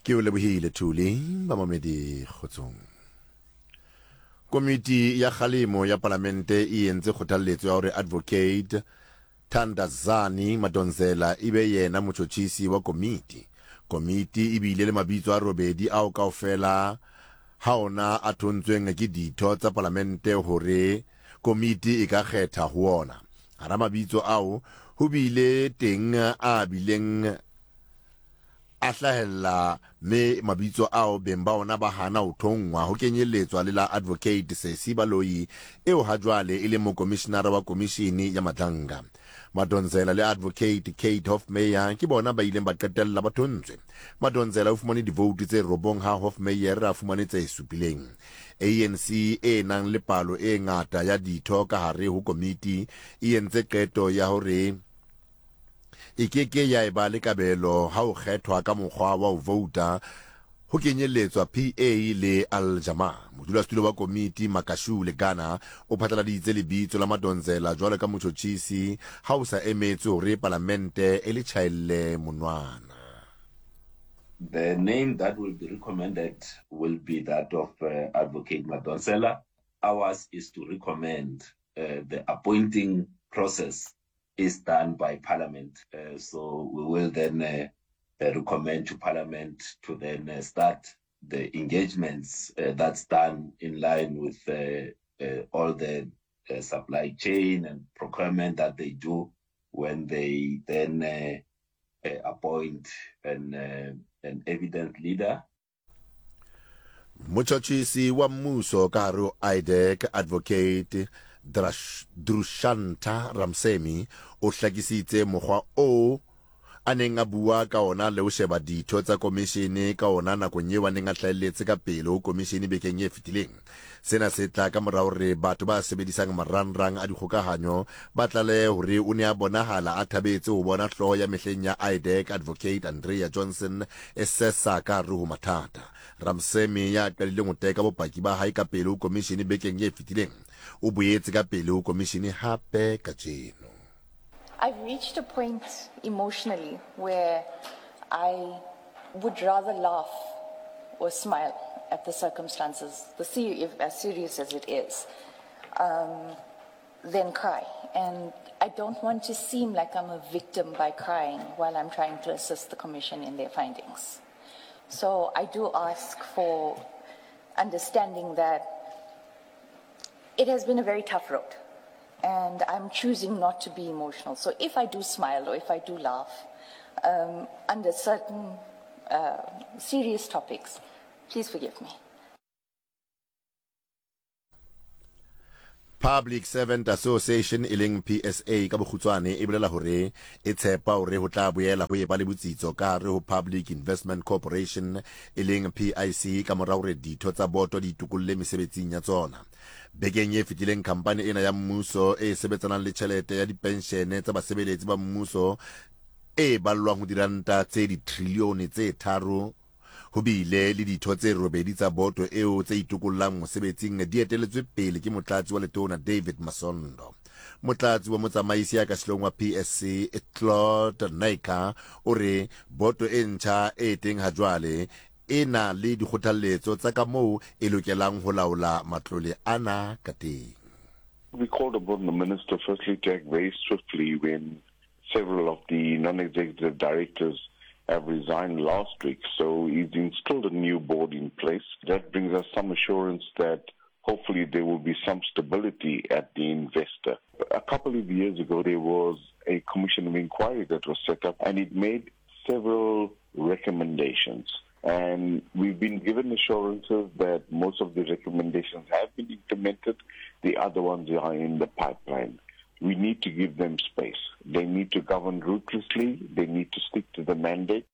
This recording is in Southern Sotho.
Ke o lebohile Thuli, bamamedi kgotsong. Komiti ya kgalemo ya palamente e entse kgothalletso ya hore Advocate Thandazani Madonsela e be yena motjhotjhisi wa komiti. Komiti e bile le mabitso a robedi ao kaofela ha ona a thontsweng ke ditho tsa palamente hore komiti e ka kgetha ho ona. Hara mabitso ao ho bile teng a bileng a hlahella mme mabitso ao beng ba ona ba hana ho thonngwa, ho kenyelletswa le la Advocate Sesi Baloyi eo hajwale e leng mokomishinara wa Komishini ya Madlanga. Madonsela le Advocate Kate Hofmeyr ke bona ba ileng ba qetella ba thontswe. Madonsela o fumane divoutu tse robong ha Hofmeyr a fumane tse supileng. ANC e nang le palo e ngata ya ditho ka hare ho komiti e entse qeto ya hore e ke ke ya eba le kabelo ha ho kgethwa ka mokgwa wa ho vouta ho kenyelletswa PA le Al Jamaa. Modulasetulo wa komiti Makashule Gana o phatlaladitse lebitso la Madonsela jwalo ka motjhotjhisi ha ho sa emetswe hore palamente e le tjhaelle monwana. The name that will be recommended will be that of Advocate Madonsela. Ours is to recommend the appointing process is done by Parliament. So we will then recommend to Parliament to then start the engagements that's done in line with all the supply chain and procurement that they do when they then appoint an, an evidence leader. Motšhotšhisi wa mmušo ka gare ho IDAC Advocate Drushantha Ramsamy o hlakisitse mokgwa oo a neng a bua ka ona le ho sheba ditho tsa komishene ka ona nakong eo a neng a hlahelletse ka pele ho komishene bekeng e fetileng. Sena se tla ka mora hore batho ba sebedisang marangrang a dikgokahanyo ba tlalehe hore o ne a bonahala a thabetse ho bona hlooho ya mehleng ya IDAC Advocate Andrea Johnson e sesa ka hare ho mathata. Ramsamy ya qadileng ho teka bopaki ba hae ka pele ho komishene bekeng e fetileng, o boetse ka pele ho komishene hape kajeno. I've reached a point emotionally where I would rather laugh or smile at the circumstances, the if, as serious as it is, than cry. And I don't want to seem like I'm a victim by crying while I'm trying to assist the Commission in their findings. So I do ask for understanding that it has been a very tough road and I'm choosing not to be emotional. So if I do smile or if I do laugh under certain serious topics, please forgive me. Public Servant Association e leng PSA ka bokgutshwane e bolela hore e tshepa hore ho tla boela ho eba le botsitso ka hare ho Public Investment Corporation e leng PIC ka mora hore ditho tsa boto di itokolle mesebetsing ya tsona. Bekeng e fetileng khampani ena ya mmuso e sebetsanang le tjhelete ya dipenshene tsa basebeletsi ba mmuso e ballwang ho diranta tse ditrilione tse tharo ho bile le ditho tse robedi tsa boto eo tse itokollang mosebetsing di eteletswe pele ke motlatsi wa letona David Masondo. Motlatsi wa motsamaisi ya ka sehloohong wa PSC Claude Naicker o re boto e ntjha e teng hajwale e na le dikgothalletso tsa ka moo e lokelang ho laola matlole ana ka teng. We called upon the minister firstly to act very swiftly when several of the non-executive directors have resigned last week. So he's installed a new board in place. That brings us some assurance that hopefully there will be some stability at the investor. A couple of years ago, there was a commission of inquiry that was set up, and it made several recommendations. And we've been given assurances that most of the recommendations have been implemented. The other ones are in the pipeline. We need to give them space. They need to govern ruthlessly. They need to stick to the mandate.